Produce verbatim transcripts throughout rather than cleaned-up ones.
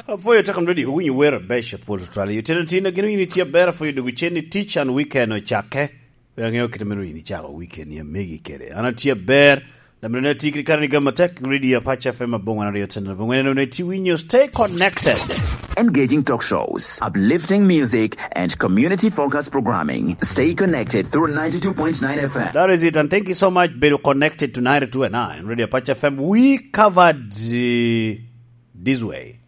Apwoyo teko radio, owinyo wer abeco pol tutwal. Yo tino tino gin owinyo tye aber, apwoyo dogo cen ni tic and weekend ocakke. Pe aŋeo kite meno yin icako weekend i amegi kede. An atye aber, lamina ne tye kede kare ni gama tek, radio Apache F M aboŋo aryo ten aboŋo en one ti winyo. Stay connected. Engaging talk shows, uplifting music, and community-focused programming. Stay connected through ninety-two point nine F M. That is it, and thank you so much, bedo connected to ninety-two and nine Radio Apache F M. We covered, uh, this way.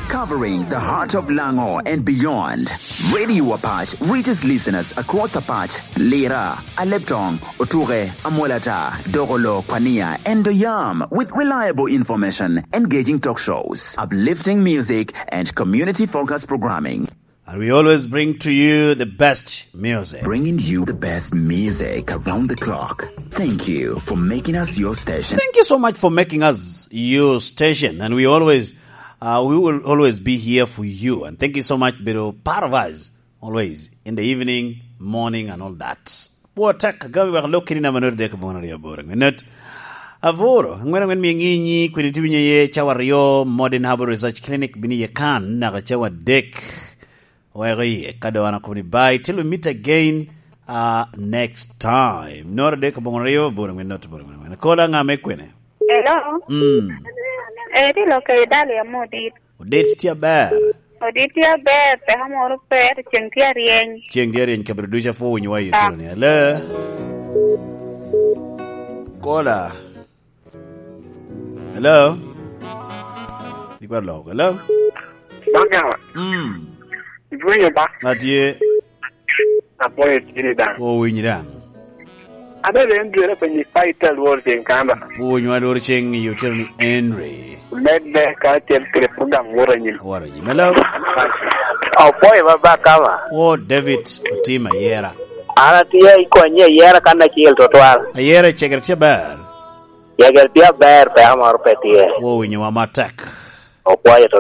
Covering the heart of Lango and beyond, Radio Apache reaches listeners across Apache, Lira, Aleptong, Otuke, Amolata, Dogolo, Kwania, and Doyam with reliable information, engaging talk shows, uplifting music, and community-focused programming. And we always bring to you the best music. Bringing you the best music around the clock. Thank you for making us your station. Thank you so much for making us your station. And we always, uh, we will always be here for you. And thank you so much, bedo part of us always in the evening, morning, and all that. Pwod tek, agamo wek alok keni namba note dek aboŋo aryo aboro. Minute aboro, angwen angwen mia ŋinyi, kwene tye winyo ye cawa aryo, Modern Herbal Research Clinic, bini ye kan, naka cawa dek. Weko iye, ka doŋ an akobo ni bye, till we meet again, uh, next time. Noro dek aboŋo aryo, boro ŋwen, not boro ŋwen. Kola ŋa me kwene? Hello? Mm. Eh, ti lo ke dali amo dit. Odit tye aber. Odit tye aber, peko moro pe, to ceng tye aryeny. Ceng tye aryeny, kabedo ducu apwo winyo wa i otino ni. Hello? Kola. Hello? Ikwa lok. Hello? Baka. Mm. Iwinyo ba? Atye. Apwoyo tiri daŋ. Owinyi daŋ. Abe ben dwere pe ni fight alwor ceng kamba. Owinyo alwor ceng i otino ni Henry. Med be ka cel kede program woro anyim. Woro anyim. Hello? Apwoyo ba ba kama. Wo David Otim Ayera. An atye i konye Ayera kan acel tutwal. Ayera cegere tye ber. Cegere tye aber, peko moro pe tye. Wo winyo wa matek. Okwayo to